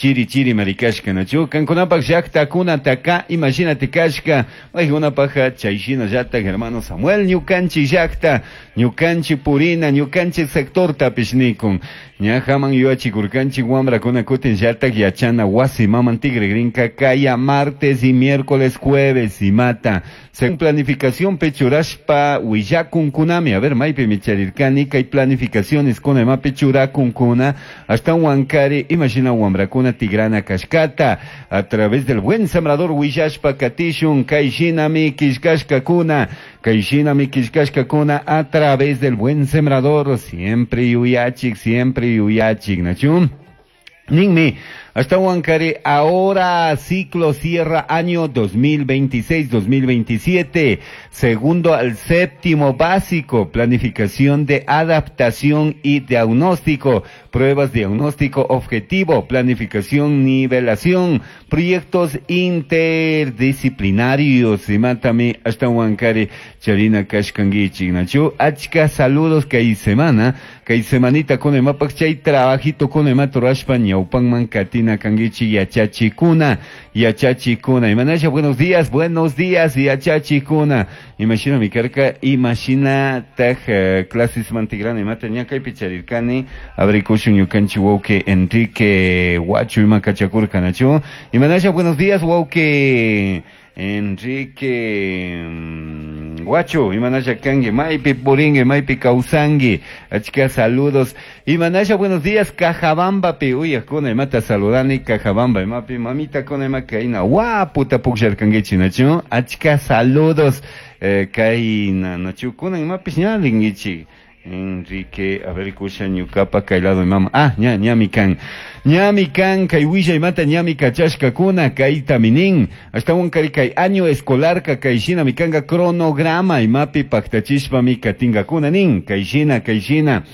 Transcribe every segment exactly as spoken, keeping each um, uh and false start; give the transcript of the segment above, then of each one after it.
Chiri chiri marikashka nachu kankunapak llaqtakunataka imashinati kashka paykunapaq chayshina llatak hermano Samuel ñukanchik llaqta ñukanchik purina ñukanchik sectortapish nikun ñajaman yuyachikurkanchik wamrakuna kutin llatak yachana wasi maman tigregrinka kaya martes y miércoles jueves imata según planificación pechurashpa willakunkunami a ver maypi micharirkani kay planificaciones kuna imapi churakunkuna hasta wankari imashina wamrakuna tigrana kashkata a través del Buen Sembrador willashpa katishun kayshinami killkashkakuna kayshinami killkashkakuna a través del Buen Sembrador siempre yuyachik siempre yuyachik nachu ninmi hasta Huancaré, ahora ciclo cierra año dos mil veintiséis dos mil veintisiete, segundo al séptimo básico, planificación de adaptación y diagnóstico, pruebas diagnóstico objetivo, planificación, nivelación, proyectos interdisciplinarios, y mátame hasta Huancaré, Charina Kashkangichi, Nachu, achka saludos que hay semana, que hay semanita con el mapa, chay trabajito con el matorashpa, ñaupanman katina kangichi yachachikuna yachachikuna imanasha buenos días buenos días yachachikuna imagina mi carca imagina taj uh, clases mantigrana imata ñakay picharirkani abrikushun ñukanchi wauke Enrique Huacho imakachakurka nachu imanasha buenos días wauke Enrique Guacho, imanasha kangi, maypi puringue, maypi kausangi, achka saludos. Imanasha, buenos días, Cajabamba, pi, uy, kuna imata saludani, Cajabamba, imapi, mamita kuna imakaina, guaputa pukshar kangichi, nachu, achka saludos, eh, kaina, nachu, kuna imapis ñalingichi. Enrique, a ver, kusha ñukapa kaylado imama. Ah, ña, ñami kan. Ñami kan, kay willa imata ñami kachashka kuna, kay taminin. Hasta un kari kay año escolar ka kay shina mikanga cronograma imapi paktachishpa mi katinga kuna nin. Kay shina, kay shina.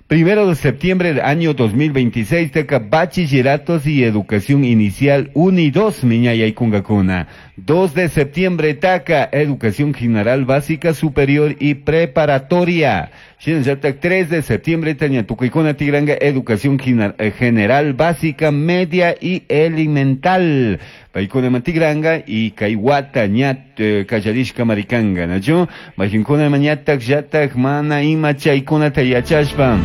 Primero de septiembre del año dos mil veintiséis, teca bachilleratos y educación inicial uno y dos, miñaya y kungakuna. dos de septiembre, taca, educación general básica superior y preparatoria. Shinashatak, tres de septiembre, tañatucuicuna tigranga, educación general básica, media y elemental. Paikuna mantigranga y kaiwata ñat kallarishka maricanga, nachu? Majinkuna mañatak yatak mana ima chaykuna tayachashpa.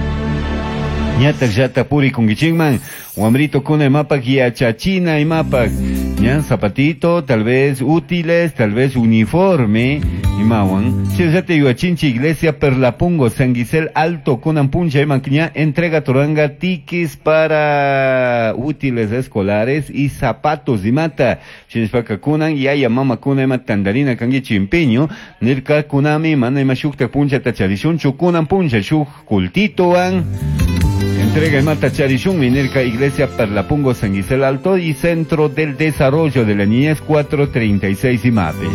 Ñatak yata puri kungichingman, wamrito kuna imapak yachachina imapak. Ñan zapatito, tal vez útiles, tal vez uniforme, imawan. Chesate yuachinchi iglesia Perlapungo, San Guisel Alto, Kunampuncha, imanquiña, entrega toranga tiquis para útiles escolares y zapatos imata. Chinspaka kunan, yaya mama kuna ima tandarina kangi chimpiño, nirka kunami, mana ima shukta puncha tacharishun, chukunan puncha, shuk kultitoan. Entrega imata charishun, minerca iglesia Perlapungo, San Guisel Alto y Centro del Desarrollo de la Niñez cuatro treinta y seis Imape.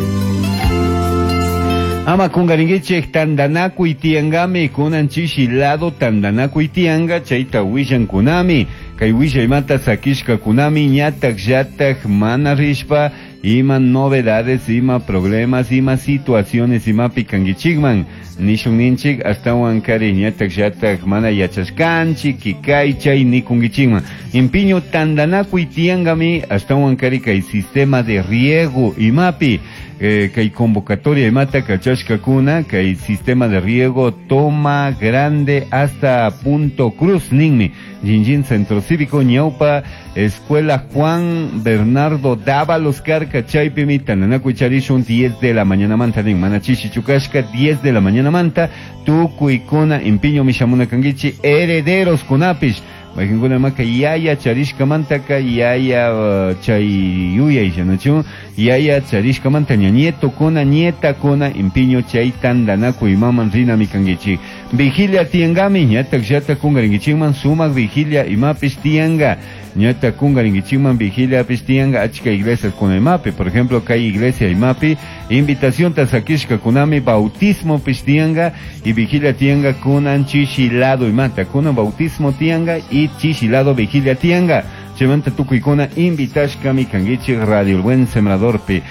Ama kungaringuiche tandanaku y tiangami kunan chishilado tandanaku y tianga chaita wishan kunami kay wisha imata sakishka kunami ñatak yatak mana rishpa ima novedades ima problemas ima situaciones ima pikanguichigman nishun ninchik hasta wankari ñatak yatak mana yachashkanchi kikay chay nikunguichigman impiño tandanaku y tiangami hasta wankari kay sistema de riego imapi Eh, kay convocatoria imata kachashka kuna kay sistema de riego toma grande hasta Punto Cruz ninmi Jinjin Centro Cívico Ñaupa Escuela Juan Bernardo Dávalos Carca Chaypimi Tananaku Charishun diez de la mañana manta nin manachishi chukashka diez de la mañana manta tukuykuna impiño mishamuna kangichi herederos kunapish Majinkuna maka yaya charishka mantaka yaya uh, chay yuyay yanachu yaya charishka manta ña nieto kuna nieta kuna impiño chay tandanaku imaman rina mikangichi vigilia tiangami ñatak llata kungaringichikman sumak vigilia imapis tianga ñata kungaringichikman vigilia apis tianga achka iglesias kuna imapi por ejemplo kay iglesia imapi invitación tasakishka kunami bautismo pis tianga y vigilia tianga kunan chishilado imata kunan bautismo tianga y chishilado vigilia tianga chemanta tukuykuna invitashka mikangichik Radio El Buen Sembrador pi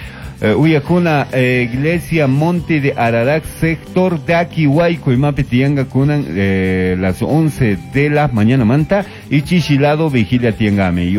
Uh, Uyakuna eh, Iglesia Monte de Ararat, sector de Aquihuayco, imapi tianga kunan eh, las once de la mañana manta y chishilado vigilia tiangame.